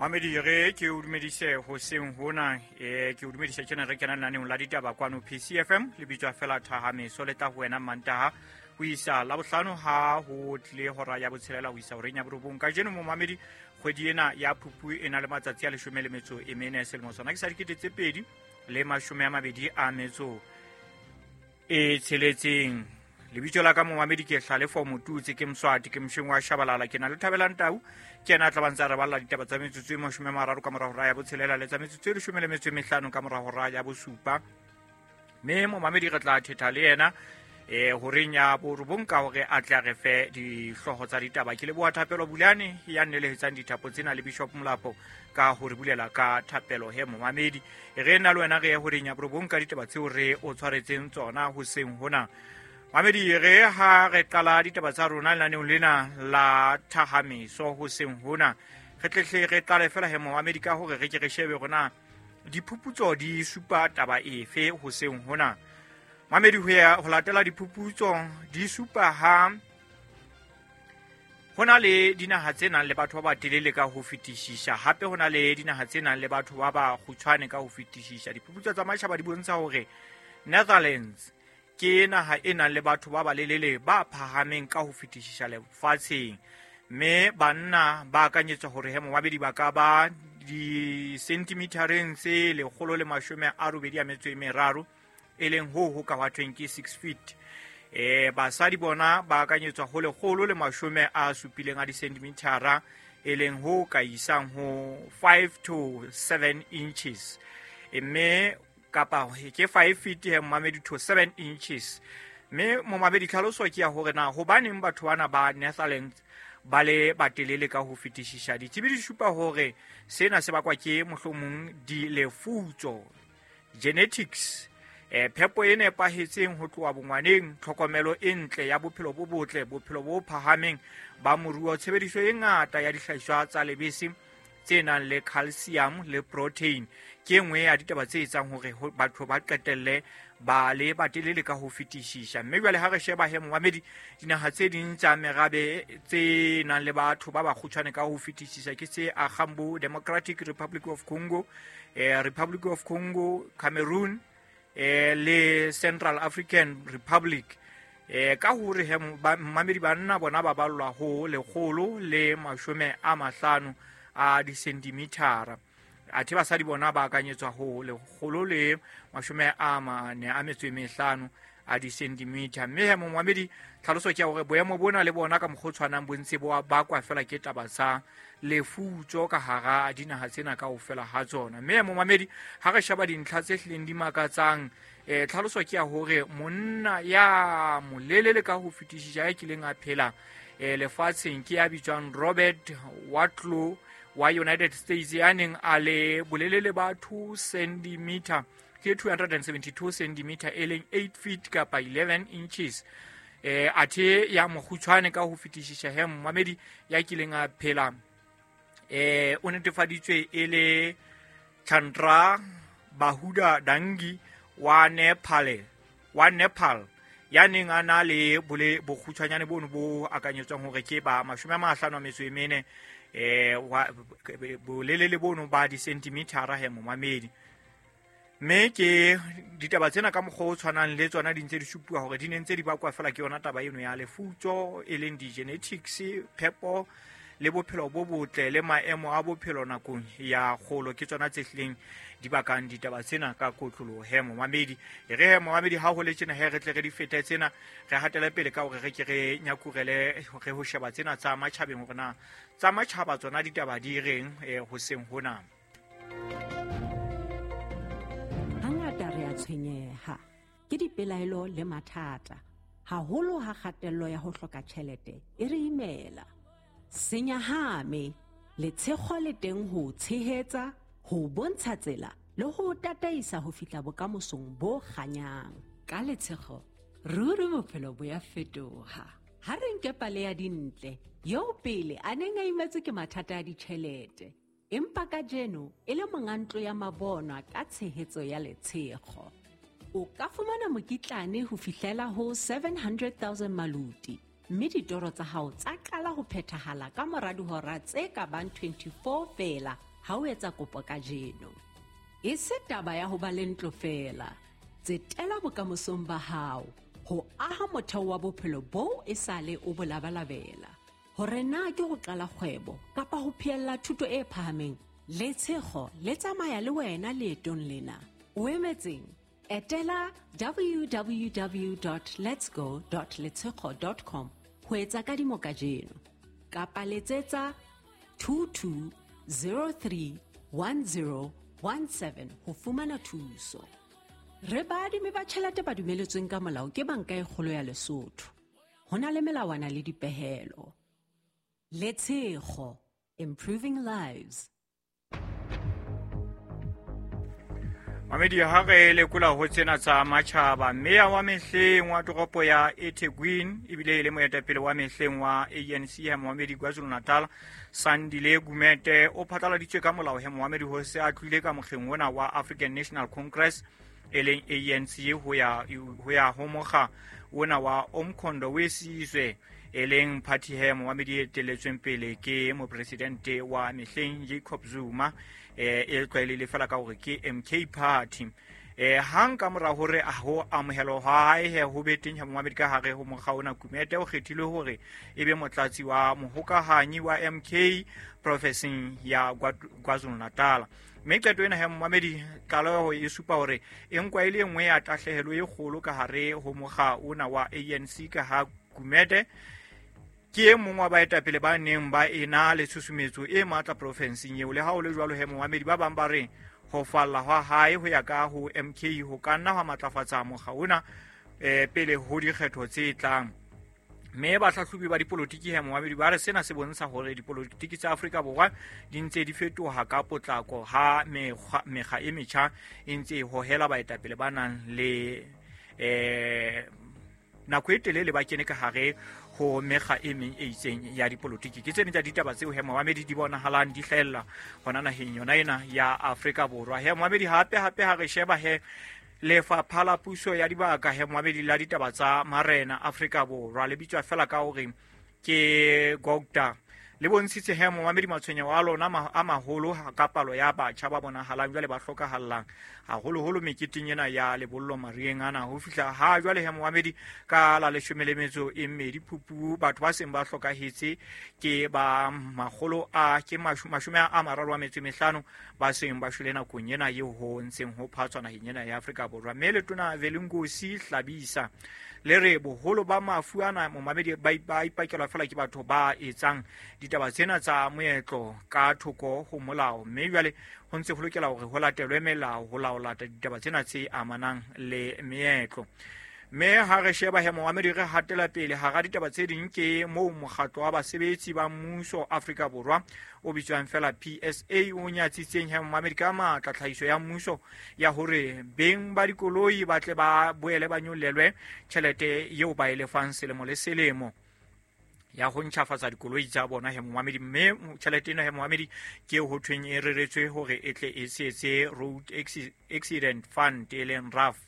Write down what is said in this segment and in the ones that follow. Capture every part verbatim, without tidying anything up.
Mamedi re ke o dumedise hoseng hona, eh ke o dumedise tjena re kena lenaneong la ditaba kwano P C F M le bitswa fela Thahameso le tla ho wena Mantaha ho isa Labohlano ha ho tlile hora ya botshelela ho isa horeng ya borobong. Kajeno momamedi kgwedi ena ya Phupu e na le matsatsi a leshome le metso e mene selemo sona ke sa dikete tse pedi le mashome a mabedi a metso e tsheletseng. Lebitso la ka momamedi ke Hlalefo Motutsi, ke Mswati, ke Msheng wa Shabalala, ke na le Thabelang Tau, ke yena a tla ba ntse a re balla ditaba tsa metsotso e mashome a mararo ka mora hora ya botshelela le tsa metsotso e leshome le metso e mehlano ka mora hora ya bosupa. Mme momamedi re tla thetha le yena eh horeng ya borobong ka hore a tle a re fe dihlooho tsa ditaba. Ke leboha Thapelo Bulane ya nnelehetsang dithapo tsena le Bishop Molapo ka ho re bulela ka thapelo he momamedi. Re nna le wena re ye horeng ya borobong ka ditaba tseo re o tshwaretseng tsona hoseng hona. Mamedi re ha re qala ditaba tsa rona lenaneong lena la Thahameso hoseng hona, re tlehle re qale fela he momamedi ka hore re ke re shebe rona diphuputso di supa taba efe hoseng hona. Mamedi ho ya ho latela diphuputso di supa ha hona le dinaha tse nang le batho ba batelele ka ho fetisisa, hape hona le dinaha tse nang le batho ba ba kgutshwane ka ho fetisisa. Diphuputso tsa matjhaba di bontsha hore Netherlands ke naha e nang le batho ba balelele ba phahameng ka ho fetisisa lefatsheng, mme banna ba akanyetswa hore he momabedi ba ka ba di-centimetereng tse lekgolo le mashome a robedi a metso e meraro, e leng ho ho ka hwa ke six feet. Eh basadi bona ba akanyetswa ho lekgolo le mashome a supileng a di-centimetera, e leng ho ka isang ho five to seven inches, mme kapa ke five feet he momamedi to seven inches. Mme momamedi tlhaloso ke ya hore na hobaneng batho bana ba Netherlands ba le batelele ka ho fetisisa. Ditsebi di supa hore sena se bakwa ke mohlomong dilefutso, genetics, eh phepo e nepahetseng ho tloha bongwaneng, tlhokomelo e ntle ya bophelo bo botle, bophelo bo phahameng ba moruo, tshebediso e ngata ya dihlahiswa tsa lebese tse nang le calcium le protein. Ke nngwe ya ditaba tse etsang hore batho ba qetelle ba le batelele ka ho fetisisa. Mme jwale ha re sheba he momamedi dinaha tse ding tsa merabe tse nang le batho ba bakgutshwane ka ho fetisisa ke tse Agambo, Democratic Republic of Congo, eh, Republic of Congo, Cameroon, eh, le Central African Republic. Eh, ka hore he momamedi banna bona ba ballwa ho lekgolo le mashome a mahlano a di-centimetera, athe basadi bona ba akanyetswa ho lekgolo le mashome a mane a metso e mehlano a di-centimeter. Mme he momamedi tlhaloso ke ya hore boemo bona le bona ka mokgwa o tshwanang bo ntse bo bakwa fela ke taba tsa lefutso ka hara dinaha tsena kaofela ha tsona. Mme momamedi ha re sheba dintlha tse hlileng di makatsang, eh tlhaloso ke ya hore monna ya molelele ka ho fetisisa ya kileng a phela eh lefatsheng ke ya bitswang Robert Wadlow wa United States, ya neng a le bolelele ba two centimeter, ke two hundred seventy-two centimeter, e leng eight feet kapa eleven inches. Eh athe ya mokgutshwane ka ho fetisisa he momamedi ya kileng a phela eh o netefaditswe e le Chandra Bahuda Dangi wa Nepal, wa Nepal ya neng a na le bole bokgutshwanyane bono bo akanyetswang hore ke ba mashome a mahlano a metso e mene, eh wa bolelele bono ba di-centimetera he momamedi. Mme ke ditaba tsena ka mokgwa o tshwanang le tsona di ntse di supuwa hore di ne ntse di bakwa fela ke yona taba eno ya lefutso, e leng di-genetics, phepo le bophelo bo botle le maemo a bophelo nakong ya kgolo, ke tsona tse hlileng di bakang ditaba tsena ka kotloloho he momamedi. E re he momamedi ha ho le tjena he re tle re di fete tsena, re hatele pele ka hore re ke re nyakurele re ho sheba tsena tsa matjhabeng hore na tsa matjhaba tsona ditaba di reng eh hoseng hona. Hangata re a tshwenyeha ke dipelaelo le mathata, haholo ha kgatello ya ho hloka tjhelete e re imela. Senyahame letshego le teng ho tshehetsa, ho bontsha tsela le ho tataisa ho fihla bokamosong bo kganyang. Ka letshego ruri bophelo bo ya fetoha. Ha re nke pale ya Dintle eo pele a neng a imetswe ke mathata a ditjhelete, empa kajeno e le monga ntlo ya mabonwa ka tshehetso ya letshego. O ka fumana mokitlane ho fihlela ho seven hundred thousand maluti, mme ditoro tsa hao tsa qala ho phethahala ka mora dihora tse ka bang twenty-four feela ha o etsa kopo kajeno. E se taba ya ho ba le ntlo feela. Tsetela bokamosong ba hao ho aha motheo wa bophelo boo esale o bo labalabela. Hore na ke ho qala kgwebo kapa ho phehella thuto e phahameng, Letshego le tsamaya le wena leetong lena. O emetseng? Etela w w w dot letsgo dot letshego dot com ho etsa kadimo kajeno. Kapa letsetsa two two zero three one zero one seven ho fumana thuso. Re baadimi ba tjhelete ba dumeletsweng ka molao ke Banka e Kgolo ya Lesotho. Ho na le melawana le dipehelo. Letshego, improving lives. Mamedi ha re lekola ho tsena tsa matjhaba, meya wa mehleng wa toropo ya eThekwini ebile e le moetapele wa mehleng wa A N C ya Mohamedi KwaZulu-Natal, Sandile Gumede o phatlaladitswe ka molao he Mohamedi ho se a tlohile ka mokgeng ona wa African National Congress e leng A N C ho ya ho ya ho mokga ona wa Umkhonto we Sizwe e leng party he Mohamedi e etelletsweng pele ke mopresidente wa mehleng Jacob Zuma, eh e tlwaelehile fela ka hore ke M K Party. Eh hang ka mora hore a ho amohelwa ha hae he ho be teng ha Mohamedi ka hare ho mokga ona, Gumede o kgethilwe hore e be motlatsi wa mohokahanyi wa M K profenseng ya KwaZulu-Natal. Mme qeto ena he Mohamedi tlaleho e supa hore e nkwa e le nngwe ya tahlehelo e kgolo ka hare ho mokga ona wa A N C, ka ha Gumede ke e mong wa baetapele ba neng ba ena le tshusumetso e matla profenseng eo. Le ha ho le jwalo he Mohamedi ba bang ba re ho falla hwa hae ho ya ka ho M K ho ka nna hwa matlafatsa mokga ona eh pele ho dikgetho tse tlang. Mme bahlahlobi ba dipolotiki he Mohamedi ba re sena se bontsha hore dipolotiki tsa Afrika Borwa di ntse di fetoha ka potlako ha mekgwa mekga e metjha e ntse e hohela baetapele ba nang le eh nako e telele ba kene ka hare ho mekga e meng e itseng ya dipolotiki. Ke tsene tsa ditaba tseo he Mohamedi di bonahalang di hlahella hona naheng yona ena ya Afrika Borwa. He Mohamedi hape hape ha re sheba he lefapha la puso ya dibaka he Mohamedi la ditaba tsa marena Afrika Borwa le bitswa fela ka hore ke GOGTA, le bontshitse he Mohamedi matshwenyeho a lona a maholo ka palo ya batjha ba bonahalang jwale ba hlokahallang haholoholo meketeng ena ya lebollo marieng ana. Ho fihla ha jwale he Mohamedi ka la leshome le metso e mmedi Phupu, batho ba seng ba hlokahetse ke ba makgolo a ke mashome a mararo a metso e mehlano ba seng ba shwele nakong ena eo ho ntseng ho phatswa naheng ena ya Afrika Borwa. Mme letona Velingosi Hlabisa le re boholo ba mafu ana Mohamedi ba ipakelwa fela ke batho ba etsang ditaba tsena tsa moetlo ka thoko ho molao, mme jwale ho ntse ho lokela hore ho latelwe melao ho laola ditaba tsena tse amanang le meetlo. Mme ha re sheba he Mohamedi re hatela pele hara ditaba tse ding ke moo mokgatlo wa basebetsi ba mmuso Afrika Borwa o bitswang fela P S A o nyatsitseng he Mohamedi ka matla tlhahiso ya mmuso ya hore beng ba dikoloi ba tle ba boele ba nyollelwe tjhelete eo ba e lefang selemo le selemo ya ho ntjhafatsa dikoloi tsa bona he Mohamedi. Mme tjhelete ena he Mohamedi ke ho thweng e reretswe hore e tle e setse Road Accident Fund e leng R A F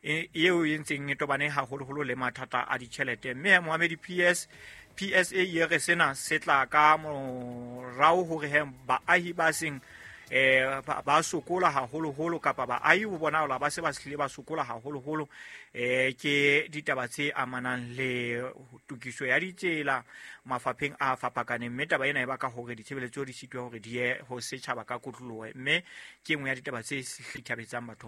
eo e ntseng e tobane haholoholo le mathata a ditjhelete. Mme Mohamedi P S P S A e re sena se tla ka morao hore he baahi ba seng eh ba sokola haholoholo kapa baahi ho bonahala ba se ba hlile ba sokola haholoholo eh ke ditaba tse amanang le tokiso ya ditsela mafapheng a fapakaneng. Mme taba ena e baka hore ditshebeletso di sitwe hore di ye ho setjhaba ka kotloloho, mme ke nngwe ya ditaba tse hlithabetsang batho.